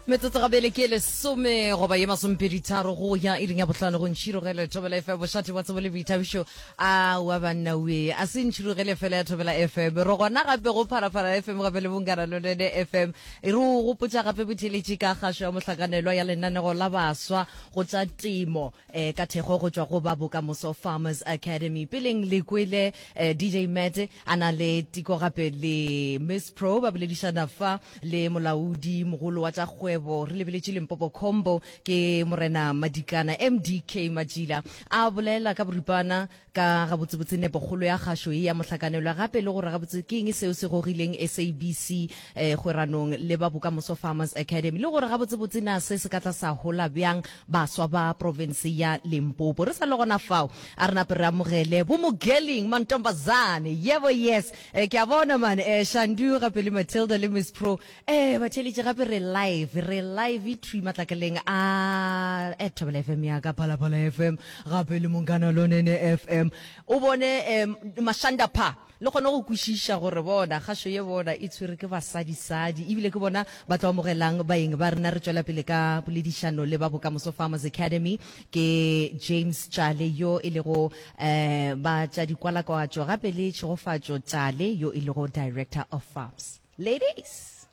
Metsotso gabele ke lesome goba ye masomepeditharo go ya iring ya bohlano go ntšhirogele Thobela FM, bošate wa tsebo le boithabišo. Aowa banna we, a se ntšhirogele fela ya Thobela FM, re gona gape go Phalaphala FM gape le Bongana Lonene FM. E re o gopotša gape botheeletši ka kgašo ya mohlakanelwa ya lenanego la baswa go tša temo eh, ka thekgo go tšwa go ba Bokamoso Farmers Academy. Peleng le kwele eh, DJ Matt a na le Tiko gape le Miss Pro ba boledišana fa le molaodi mogolo wa tša kgwebo re lebeletše Limpopo Combo ke Morena Madikana MDK Majila a bolela ka boripana ka gabotsebotse nepokgolo ya kgašo ye ya mohlakanelwa gape le gore gabotse ke eng seo se gogileng SABC eh, kgweranong le ba Bokamoso Farmers Academy le gore gabotsebotse na se se ka tla sa hola bjang baswa ba profense ya Limpopo. Re sa le gona fao, a re nape re amogele bo Mogeling Mantombazane. Yebo yes, eh, ke a bona man, eh, Shandu gape le Matilda le Miss Pro. Eh, batheeletši gape re live, re live thwi matlakaleng a eh, Thobela FM ya ka Phalaphala FM gape le Monghana Lonene FM. O bone eh, Mashanda pha Le kgone go kwešiša gore bona, kgašo ye bona e tshwere ke basadisadi, ebile ke bona ba tlo amogelang baeng ba rena. Re tšwela pele ka poledišano le ba Bokamoso Farmers Academy. Ke James Tjale yo e lego um ba tša dikwalakwatšo, gape le Tšhegofatšo Tjale yo e lego Director of Farms. Ladies!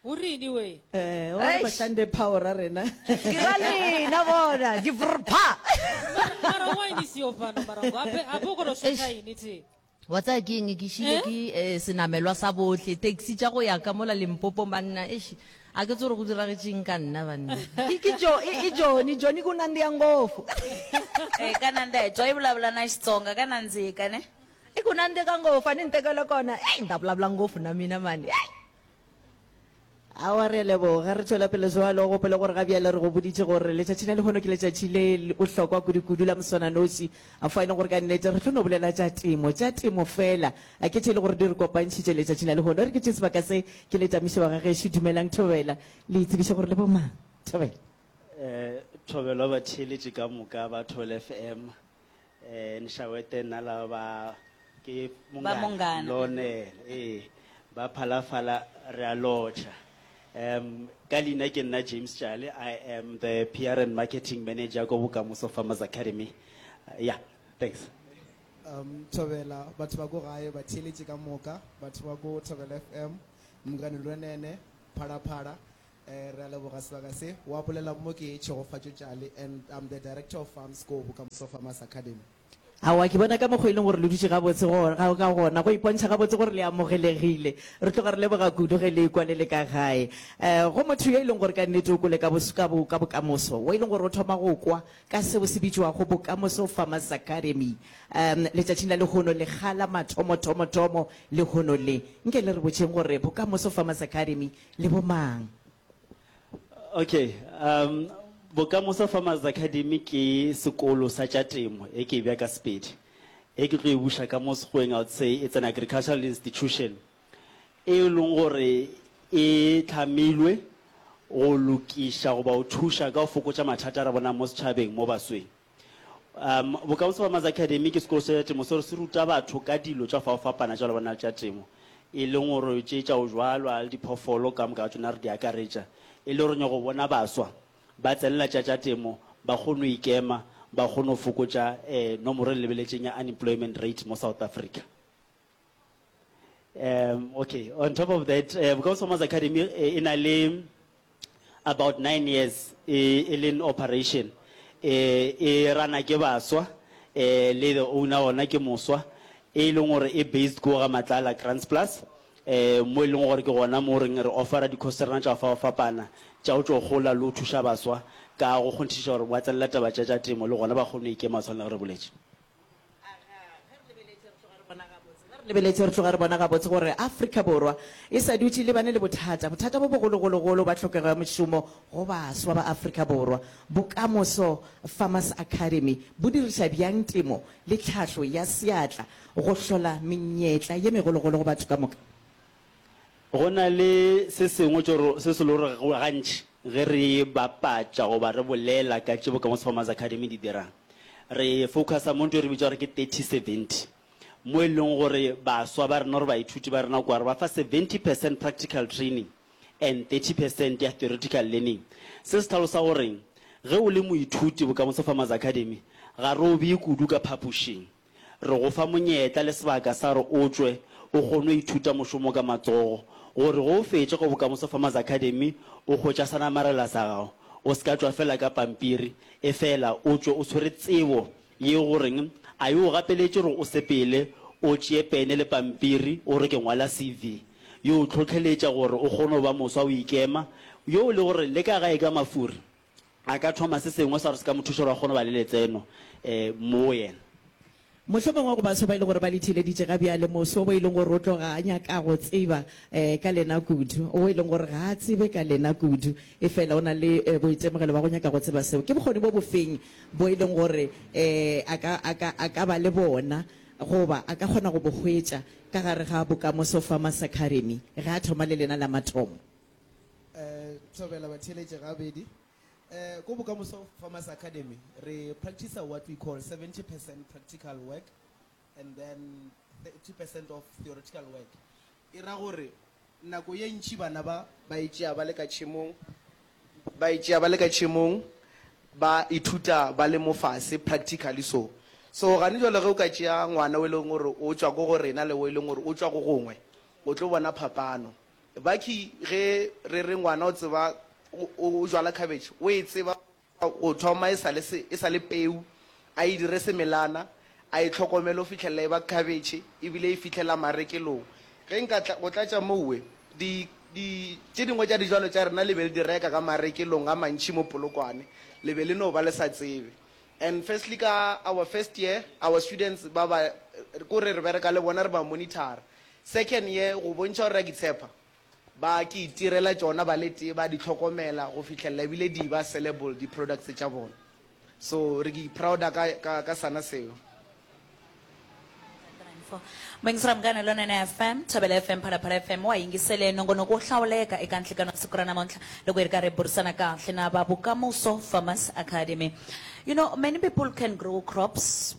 O reng we? Eh, o re Eish. Bashande power a rena. Ke ra lena bona, di brpha. Mara mara why ni siyo fano mara hape hape o kgona go Eish. shotha ini the. Wa tsaya ke eng ke šile Eh? ke eh, senamelwa sa bohle taxi tša go ya ka mola Limpopo banna eish a ke tsore go diragetšeng ka nna banna ke ke jo e, e Johnny Johnny ku nandiha ngopfu Eh, ka nandziha hi twa yi vulavula na Xitsonga ka nandzika ne. I ku nandzika ngopfu a ni ni tekela kona ei ni ta vulavula ngopfu na mina mani ei Aowa, re a leboga. Re tšwela pele bjalo. Gopola gore ga bjale re go boditše gore letšatši la lehono ke letšatši le bohlokwa kudu-kudu la moswananoši, fao e leng gore ka nnete re tlo no bolela tša temo, tša temo feela. Ke tše e le gore di re kopantšhitše letšatšing la lehono. E re ke tšee sebaka se ke le tamiše wa ga gešo. Dumelang Thobela. Le itsebiše gore le bomang. Thobela. Thobela batheeletši ka moka ba Thobela FM. Eh, nxawete nna lava ba ke Ba Munghana. Lonel, ee, ba Phalafala re a lotšha. Um, ka leina ke nna James Tjale, I am the PR and Marketing Manager ko Bokamoso Farmers Academy. Uh, yeah, thanks. Um, Thobela, batho ba ko gae ba theeletše ka moka, batho ba ko Thobela FM, Mongane Lwenene, Phalaphala, Eh, re a leboga sebaka se. Wa bolela mo ke Tšhegofatšo Tjale and I'm the director of farms ko Bokamoso Farmers Academy. Aowa, ke bona ka mokgwa e leng gore le dutše gabotse go, ga, ka gona, go ipontšha gabotse gore le amogelegile. Re tloga re leboga kudu ge le ekwa le le ka gae. Eh, go motho yo e leng gore ka nnete o kwele ka bos, ka bo, ka bokamoso, wo e leng gore o thoma go kwa ka seo se bitšwago Bokamoso Farmers Academy, um, letšatšing la lehono, lekga la mathomo-thomo-thomo lehono le. Nke le re botšeng gore Bokamoso Farmers Academy Le bomang? Okay, um, Bokamoso Farmers Academy ke sekolo sa tša temo, e ke e bea ka Sepedi. E ke tlo e buša ka mo Sekgoweng, I would say it's an agricultural institution e leng gore e hlamilwe go lokiša goba go thuša ka go fokotša mathata a re bonang mo setšhabeng mo basweng. Um, Bokamoso Farmers Academy ke sekolo sa temo seo se ruta batho ka dilo tša go fapana tša lebana le tša temo, e leng gore tše tša go jwalwa le diphoofolo ka moka ga tšona re di akaretša, e le gore nyako bona baswa ba tsenela tša tša temo, ba kgone go ikema, ba kgone go fokotša eh, nomoro e lebeletšeng ya unemployment rate mo South Africa. Um, okay, on top of that, uh, Bokamoso Farmers Academy eh, e na le about 9 years e, e le in operation. Eh, e rana ke baswa, eh, le the owner ona ke moswa, e leng gore e based ko ga Matlala Grants Plus, eh, mo e leng gore ke gona mo reng re offera di-course tsa rena tša go fapafapana tša go tšo gola le go thuša baswa ka go kgonthišiša gore ba tsenela taba tša tša temo le gona ba kgone go ikema tshwana le ge re boletše. Ge re lebeletše re tloga re bona gabotse gore Afrika Borwa e sa dutše e lebane le bothata, bothata bo bogologologolo ba tlhokego ya mešomo go baswa ba Afrika Borwa. Bokamoso Farmers Academy bo diriša bjang temo le tlhahlo ya seatla go hlola menyetla ye megologolo go batho ka moka? Go na le se sengwe tšo se se le gore gantši ge re bapatša goba re bolela ka tše Bokamoso Farmers Academy di dirang, re focusa mo ntho e re bitša gore ke 30-70, mo e leng gore baswa ba rena or baithuti ba rena kwa re ba fa 70 percent practical training. and 30 percent ya theoretical learning. Se se hlalosa goreng ge o le moithuti Bokamoso Farmers Academy ga re o bee kudu ka phapošing. Re go fa monyetla le sebaka sa gore o tšwe o kgone go ithuta mošomo ka matsogo gore ge o fetša ko Bokamoso Farmers Academy o hwetša sa namarela sa gago. O se ka tšwa fela ka pampiri, efela o tšwe o tshwere tsebo ye goreng a e o gapeletše gore o sepele o tšee pene le pampiri o re ke ngwala CV. Yo o hlohleletša gore o kgone go ba moswa o ikema, yo le gore le ka gae ka mafuri a ka thoma se sengwe sa gore se ka mo thuša gore a kgone go ba le letseno mo yena. Mohlomongwe go baswa ba e lego gore ba le theeleditše ga bjale, moswa wo e leng gore o tloga a nyaka go tseba ka lena kudu, wo e leng gore ga a tsebe ka lena kudu, efela o na le boitemogelo bja go nyaka go tseba seo, ke bokgoni bo bofeng bo e leng gore a ka, a ka, a ka ba le bona goba a ka kgona go bo hwetša ka gare ga Bokamoso Farmers Academy ge a thoma le lena la mathomo? Thobela batheeletše gabedi. Ko Bokamoso Farmers Academy re practice what we call 70% practical work and then 30% of theoretical work. E ra gore nako ye ntši bana ba ba e tšea ba le ka tšhemong, ba e tšea ba le ka tšhemong, ba ithuta ba le mo fase practically so. So gane jwale ge o ka tšea ngwana o e leng gore o tšwa ko go rena le o e leng gore o tšwa go gongwe, o tlo bona phapano. Bakhi ge re re ngwana o tseba o jwala cabbage, o e tseba go thoma e sa le e sa le peu, a e dire semelana, a e hlokomele go fihlelela e ba cabbage ebile e fihlela marekelong. Ge nka tla go tlatša mowe, di di tše dingwe tša dijwalo tša rena le be le di reka ka marekelong a mantši mo Polokwane, le be le no ba le sa tsebe. And firstly ka our first year, our students ba ba ko re re bereka le bona re ba monitor-a. Second year go bontšha gore re a itshepa, ba ke itirela tšona ba le tee, ba di hlokomela go fihlelela ebile di ba sellable di products tša bona. So re ke prouda ka, ka, ka sana seo. Muyingiseri Munghana Lonene FM, Thobela FM, Phalaphala FM wa yingisele nongonoko wo hlawuleka eka nhlikano wa siku ra namuntlha loko hi ri karhi hi burisana kahle na va Bokamoso Farmers Academy. You know, many people can grow crops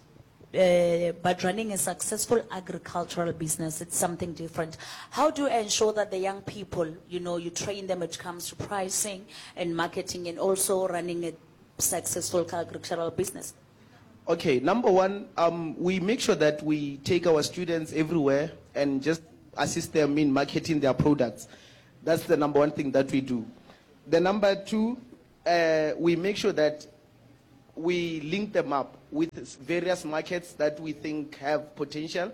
but running a successful agricultural business, it's something different. How do you ensure that the young people, you know, you train them when it comes to pricing and marketing and also running a successful agricultural business? Okay, number one, um, we make sure that we take our students everywhere and just assist them in marketing their products. That's the number one thing that we do. The number two, uh, we make sure that we link them up with various markets that we think have potential.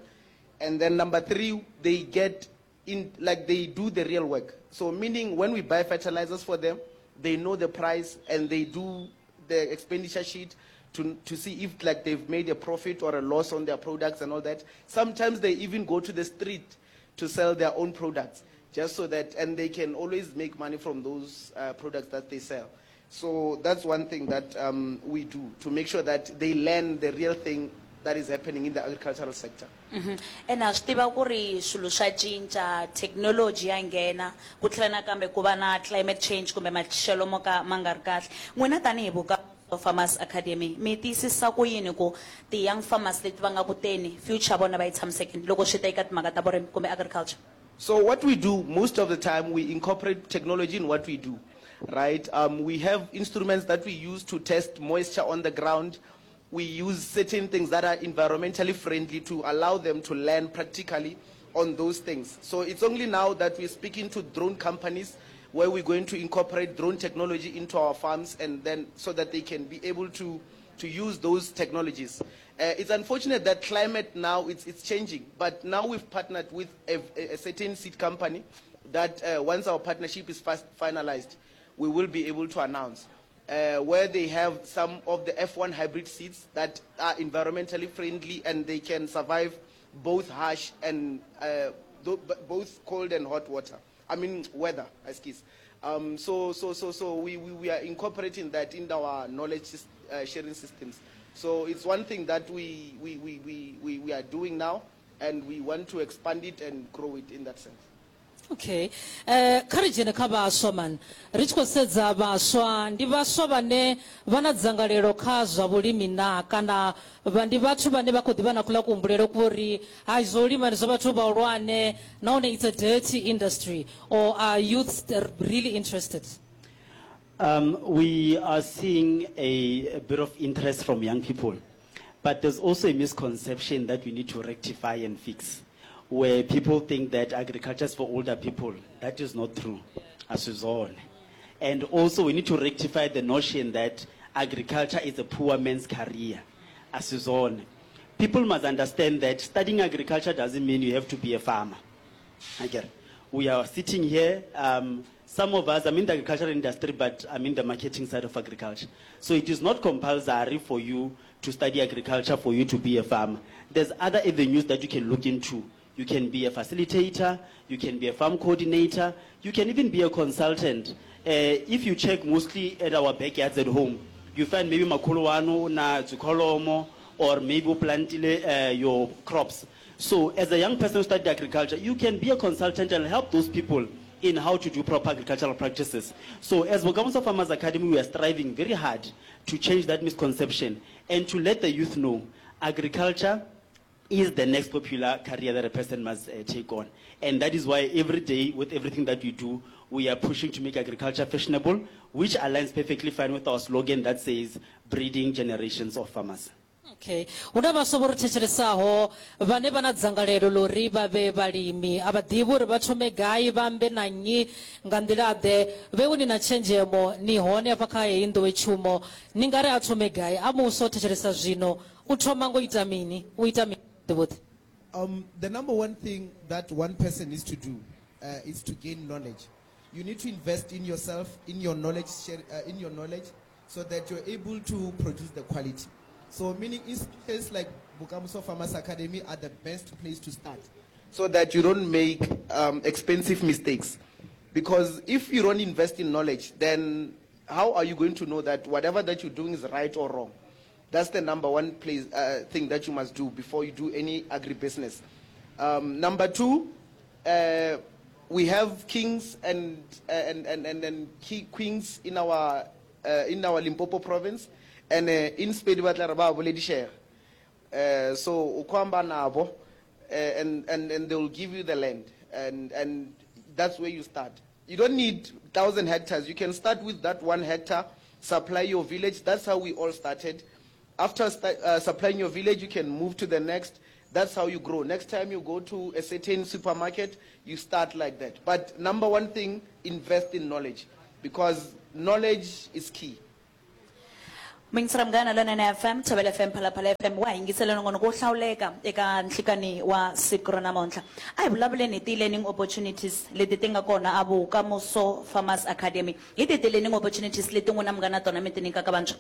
And then number three, they get in, like they do the real work. So meaning when we buy fertilizers for them, they know the price and they do the expenditure sheet to, to see if like they've made a profit or a loss on their products and all that. Sometimes they even go to the street to sell their own products just so that, and they can always make money from those uh, products that they sell. So that's one thing that um, we do to make sure that they learn the real thing that is happening in the agricultural sector. Mhm. Ene ha swi tiva ku ri swilo swa cinca, thekinoloji ya nghena, ku tlhela nakambe ku va na climate change kumbe maxelo mo ka ma nga ri kahle. N'wina tanihi Bokamoso Farmers Academy mi tiyisisa ku yini ku ti-young farmers leti va nga ku teni future ya vona va yi tshamisekile loko swi ta eka timhaka ta vurimi kumbe agriculture? So what we do most of the time, we incorporate technology in what we do, right? Um, we have instruments that we use to test moisture on the ground. We use certain things that are environmentally friendly to allow them to learn practically on those things. So it's only now that we're speaking to drone companies where we're going to incorporate drone technology into our farms and then so that they can be able to, to use those technologies. Uh, it's unfortunate that climate now it's, it's changing, but now we've partnered with a, a certain seed company that uh, once our partnership is fast finalized, we will be able to announce. Uh, where they have some of the F1 hybrid seeds that are environmentally friendly and they can survive both harsh and uh, both cold and hot water. I mean weather, excuse. Um, so so so so we, we, we are incorporating that in our knowledge uh, sharing systems. So it's one thing that we, we, we, we, we, we are doing now, and we want to expand it and grow it in that sense. Okay. Eh, kha ri dzhene kha vhaswa man. Ri tshi khou sedza vhaswa, ndi vhaswa vhane vha na dzangalelo kha zwa vhulimi naa kana vha ndi vhathu vhane vha khou ḓi vha na kuḽa kuhumbulele kwa uri hai zwa u lima ndi zwa vhathu vhahulwane nahone it's a dirty industry or are youths really interested? Um, we are seeing a, a bit of interest from young people, but there's also a misconception that we need to rectify and fix, where people think that agriculture is for older people. That is not true. Asizone. And also we need to rectify the notion that agriculture is a poor man's career. Asizone. People must understand that studying agriculture doesn't mean you have to be a farmer. Again, we are sitting here. Um, some of us, I'm in the agricultural industry, but I'm in the marketing side of agriculture. So it is not compulsory for you to study agriculture for you to be a farmer. There's other avenues that you can look into. You can be a facilitator, you can be a farm coordinator, you can even be a consultant. Uh, if you check mostly at our backyards at home, you find maybe makuluwano na tsukolomo, or maybe o plantile uh, your crops. So as a young person who studied agriculture, you can be a consultant and help those people in how to do proper agricultural practices. So as Bokamoso Farmers Academy, we are striving very hard to change that misconception and to let the youth know agriculture is the next popular career that a person must uh, take on. And that is why every day, with everything that we do, we are pushing to make agriculture fashionable, which aligns perfectly fine with our slogan that says, breeding generations of farmers. Okay. Hu na vhaswa vho ri thetshelesa-ho vhane vha na dzangalelo ḽa uri vha vhe vhalimi. A vha ḓivhi uri vha thome gai, vha ambe na nnyi, nga nḓila-ḓe. Vheiwe ni na tshenzhemo, ni hone hafha kha heyi nḓowetshumo. Ni nga ri a thome gai? A muswa o thetshelesa zwino, u thoma nga u ita mini? U ita mini vhuḓi-vhuḓi? Um, the number one thing that one person needs to do uh, is to gain knowledge. You need to invest in yourself, in your knowledge, share, uh, in your knowledge, so that you're able to produce the quality. So, meaning institutions like Bokamoso Farmers Academy are the best place to start, so that you don't make um, expensive mistakes. Because if you don't invest in knowledge, then how are you going to know that whatever that you're doing is right or wrong? That's the number one place, uh, thing that you must do before you do any agribusiness. Um, number two, uh, we have kings and, and, and, and, and queens in our, uh, in our Limpopo province. And uh, in Sepedi ba tla re ba boledišega. Uh, so o khwamba nabo, uh, and, and, and they will give you the land. And, and that's where you start. You don't need 1,000 hectares. You can start with that one hectare, supply your village. That's how we all started. After sta- uh, supplying your village, you can move to the next. That's how you grow. Next time you go to a certain supermarket, you start like that. But number one thing, invest in knowledge because knowledge is key. Muyingiseri Munghana Lonene FM, Thobela FM, Phalaphala FM, wa ha yingisela nongonoko wo hlawuleka eka nhlikani wa siku ra namuntlha. A hi vulavuleni hi ti-learning opportunities leti ti nga kona a Bokamoso Farmers Academy. Hi tihi ti-learning opportunities leti n'wina mi nga na tona mi ti nyikaka vantshwa?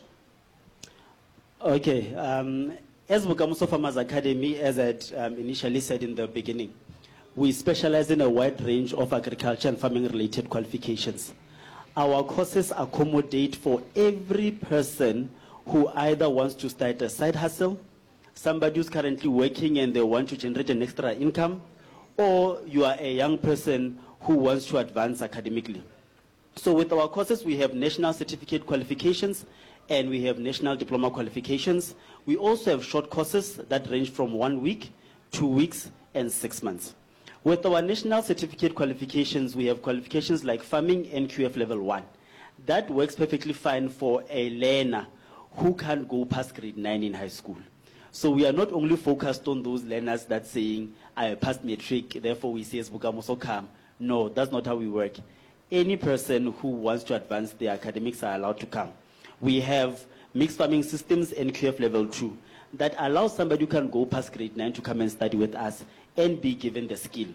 Okay, um, as Bokamoso Farmers Academy, as I had um, initially said in the beginning, we specialize in a wide range of agriculture and farming related qualifications. Our courses accommodate for every person who either wants to start a side hustle, somebody who's currently working and they want to generate an extra income, or you are a young person who wants to advance academically. So with our courses, we have national certificate qualifications and we have national diploma qualifications. We also have short courses that range from one week, two weeks, and six months. With our national certificate qualifications, we have qualifications like farming NQF level 1. That works perfectly fine for a learner who can't go past grade 9 in high school. So we are not only focused on those learners that saying, I passed matric, therefore we say Bokamoso come. No, that's not how we work. Any person who wants to advance their academics are allowed to come. We have mixed farming systems NQF level 2 that allows somebody who can go past grade 9 to come and study with us and be given the skill.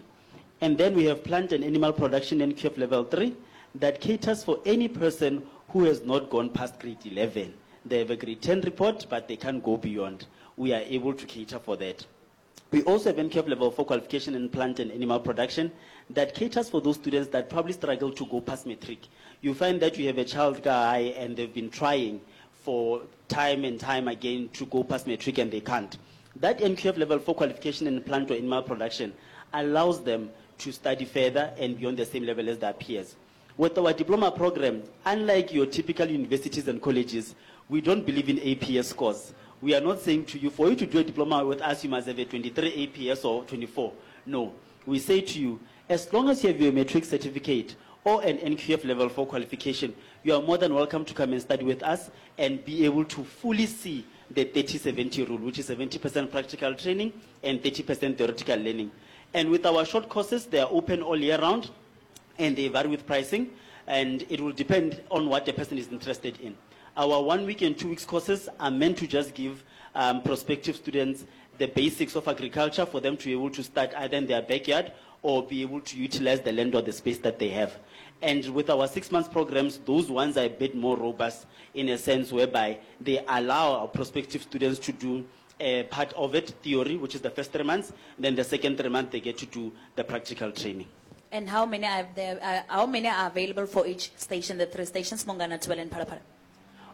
And then we have plant and animal production NQF level 3 that caters for any person who has not gone past grade 11. They have a grade 10 report, but they can't go beyond. We are able to cater for that. We also have NQF level 4 qualification in plant and animal production that caters for those students that probably struggle to go past matric. You find that you have a child guy and they've been trying for time and time again to go past matric and they can't. That NQF level 4 qualification in plant or animal production allows them to study further and be on the same level as their peers. With our diploma program, unlike your typical universities and colleges, we don't believe in APS scores. We are not saying to you, for you to do a diploma with us, you must have a 23 APS or 24. No. We say to you, as long as you have your matric certificate or an NQF level 4 qualification, you are more than welcome to come and study with us and be able to fully see the 30-70 rule, which is 70% practical training and 30% theoretical learning. And with our short courses, they are open all year round and they vary with pricing, and it will depend on what the person is interested in. Our 1 week and 2 weeks courses are meant to just give, um, prospective students the basics of agriculture for them to be able to start either in their backyard or be able to utilize the land or the space that they have. And with our 6 months programs, those ones are a bit more robust in a sense whereby they allow our prospective students to do a part of it, theory, which is the first 3 months, then the second 3 months they get to do the practical training. And how many are there, uh, how many are available for each station, the three stations, Mongana, Thobela and Phalaphala?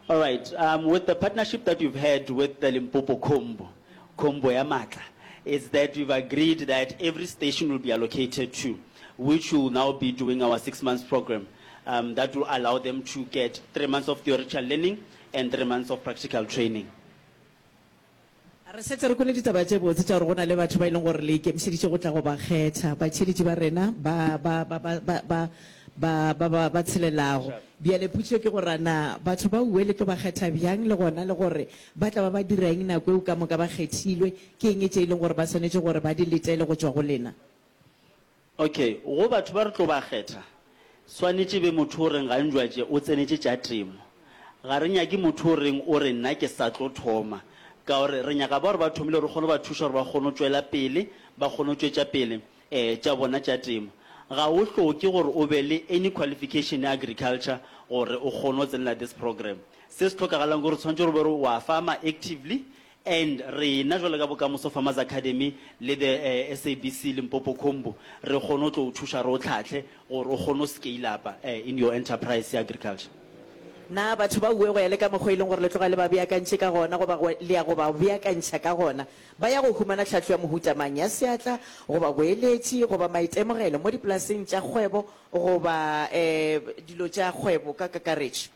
All right, um, with the partnership that we've had with the Limpopo Combo, Combo ya Matla, is that we've agreed that every station will be allocated to, which will now be doing our 6 months program. Um, that will allow them to get 3 months of theoretical learning and 3 months of practical training. Re šetše re kwele ditaba tše botse tša gore go na le batho ba e leng gore le ikemišeditše go tla go ba kgetha, batheeletši ba rena ba, ba, ba, ba, ba, ba, ba, ba, ba, ba tshelelago. Bjale potšišo ke gore a na batho ba uwe le tlo ba kgetha bjang le gona le gore ba tla ba ba dira eng nako eo ka moka ba kgethilwe? Ke eng tše e leng gore ba swanetše gore ba di letele go tšwa go lena? Okay, go batho ba re tlo ba kgetha, swanetše e be motho o reng ga njwatše o tsenetše tša temo. Ga re nyake motho o reng o re nna ke sa tlo thoma, ka gore re nyaka ba gore ba thomile re kgone go ba thuša gore ba kgone go tšwela pele, ba kgone go tšwetša pele um tša bona tša temo. Ga o hloke gore o be le any qualification ya agriculture gore o kgone go tsenela this program. Se se hlokagalang ke gore tshwanetše gore o be o re wa farmer actively And rena jwalo ka Bokamoso Farmers Academy le the SABC Limpopo Combo re kgone go tlo o thuša re o tlhahle gore o kgone go scale up in your enterprise ya agriculture. Na batho ba uwe go ya le ka mokgwa e leng gore le tloga le ba beakantše ka gona goba go le ya go ba beakantšha ka gona? Ba ya go humana tlhahlo ya mohuta mang, ya seatla goba boeletši goba maitemogelo mo dipolaseng tša kgwebo goba dilo tša kgwebo ka kakaretšo?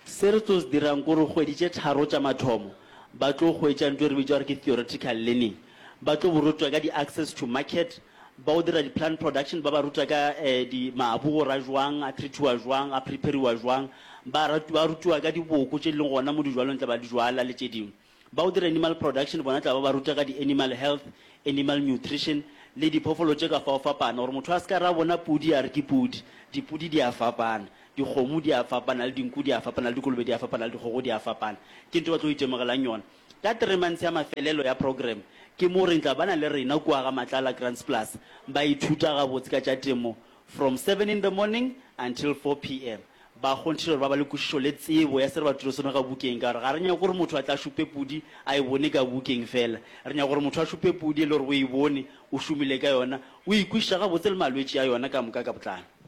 Se re tlo se dirang ke gore kgwedi tše tharo tša mathomo ba tlo hwetša ntho e re bitša gore ke theoretical learning. Ba tlo bo rutwa ka di-access to market, ba o dira di-plant production, ba ba ruta ka di mabu gore a jwang, a treatiwa jwang, a prepariwa jwang. Ba ba rutiwa ka diboko tše di leng gona mo dijwalong tla ba di jwala le tše dingwe. Ba o dira animal production bona tla ba ba ruta ka di-animal health, animal nutrition le diphoofolo tše ka fao fapana gore motho a se ka ra bona pudi a re ke pudi. Dipudi di a fapana, dikgomo di a fapana le dinku di a fapana le dikolobe di a fapana le dikgogo di a fapana. Ke ntho e ba tlo itemogelang yona. Ka three months ya mafelelo ya program ke mo re tla ba na le rena kua ga Matlala Grants Plus ba ithuta gabotse ka tša temo from seven in the morning until 4 PM. Ba kgonthiša gore ba ba le kwešišo le tsebo ya se re ba rutilego sona ka bukeng, ka gore ga re nyake gore motho a tle a šupe pudi a e bone ka bukeng feela. Re nyaka gore motho a šupe pudi e le gore o e bone, o šomile ka yona, o e kwešiša gabotse le malwetši a yona ka moka ka botlalo.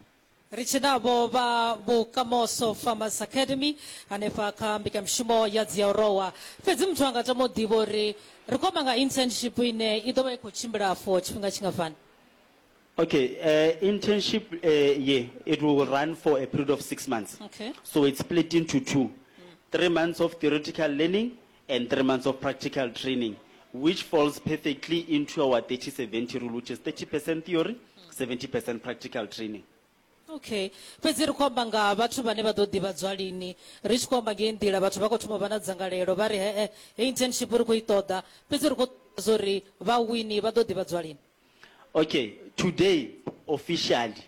Ri tshi navho vha Vhukamoso Farmers Academy hanefha kha mbekanyamushumo ya Dziaorowa. Fhedzi muthu a nga tama u ḓivha uri ri khou amba nga internship ine i ḓo vha i khou tshimbila for tshifhinga tshingafhani? Okay, uh, internship uh, ye, it will run for a period of six months. Okay. So it's split into two. 3 months of theoretical learning and 3 months of practical training, which falls perfectly into our 30-70 rule, which is 30% theory, 70% practical training. Okay. Fhedzi ri khou amba nga vhathu vhane vha ḓo ḓivhadzwa lini. Ri tshi khou amba ngei nḓila vhathu vha khou thoma u vha na dzangalelo vha ri he-e heyi internship ri khou i ṱoḓa. Fhedzi ri khou ṱoḓa zwa uri vhawini vha ḓo ḓivhadzwa lini. Okay, today officially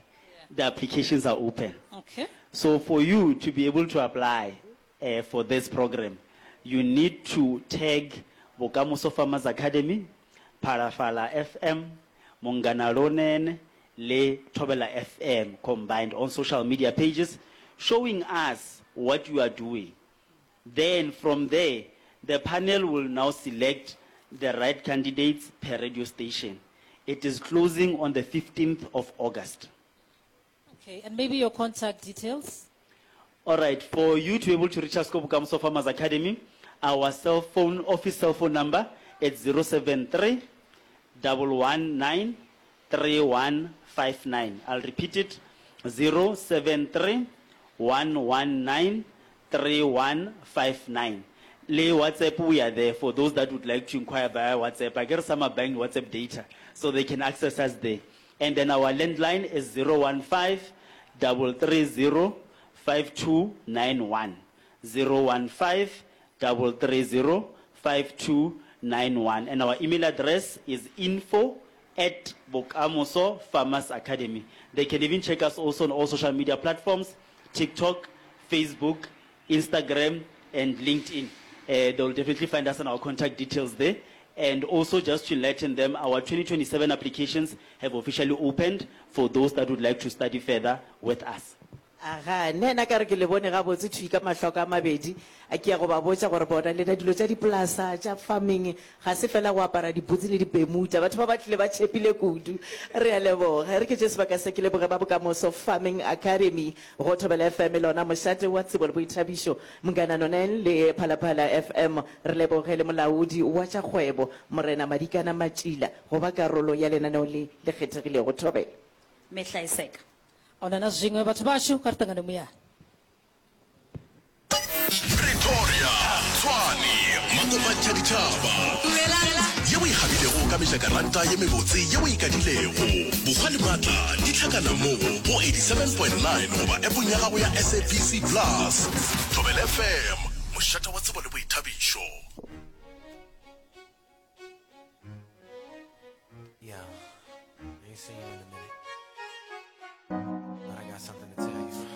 the applications are open. Okay. So for you to be able to apply uh, for this program, you need to tag Bokamoso Farmers Academy, Phalaphala FM, Munghana Lonene, le Thobela FM combined on social media pages, showing us what you are doing. Then from there, the panel will now select the right candidates per radio station. It is closing on the 15th of August. Okay, and maybe your contact details? All right, for you to be able to reach us, Bokamoso Farmers Academy, our cell phone, office cell phone number, it's 073 119 3159. I'll repeat it, 073 119 3159. Le WhatsApp we are there for those that would like to inquire via WhatsApp. I get some are buying WhatsApp data so they can access us there. And then our landline is 015 330 5291. 015 330 5291. And our email address is info at Bokamoso Farmers Academy. They can even check us also on all social media platforms, TikTok, Facebook, Instagram, and LinkedIn. Uh, they'll definitely find us on our contact details there. And also just to enlighten them, our 2027 applications have officially opened for those that would like to study further with us. Aga, nna ka re ke le bone gabotse thwi ka mahlo a ka a mabedi, a ke ya go ba botša gore bona lena dilo tša dipolasa tša farming ga se fela go apara diputsi le dipemuta. Batho ba ba tlile ba tšhepile kudu. Re a leboga. E re ke tše sebaka se ke leboge ba Bokamoso Farming Academy go Thobela FM lona mošate wa tsebo le boithabišo, Mngana Noneng le Phalaphala FM. Re leboge le molaodi wa tša kgwebo, Morena Madikana Matšila go ba karolo ya lenaneo le le kgethegilego. Thobela. Mehla e seka. Ahuna na zwiṅwe vhathu vhashu kha ri ṱangane muyani. Pretoria, Tshwane, Makopantšha Ditšhaba. Ye o e gabilego ka mejakaranta ye mebotse ye o e kadilego. Bokgwa le maatla di hlakana mo go 87.9 goba appong ya gago ya SABC Plus. Thobela FM, mošate wa tsebo le boithabišo. Yo, I ain't seen you in a minute.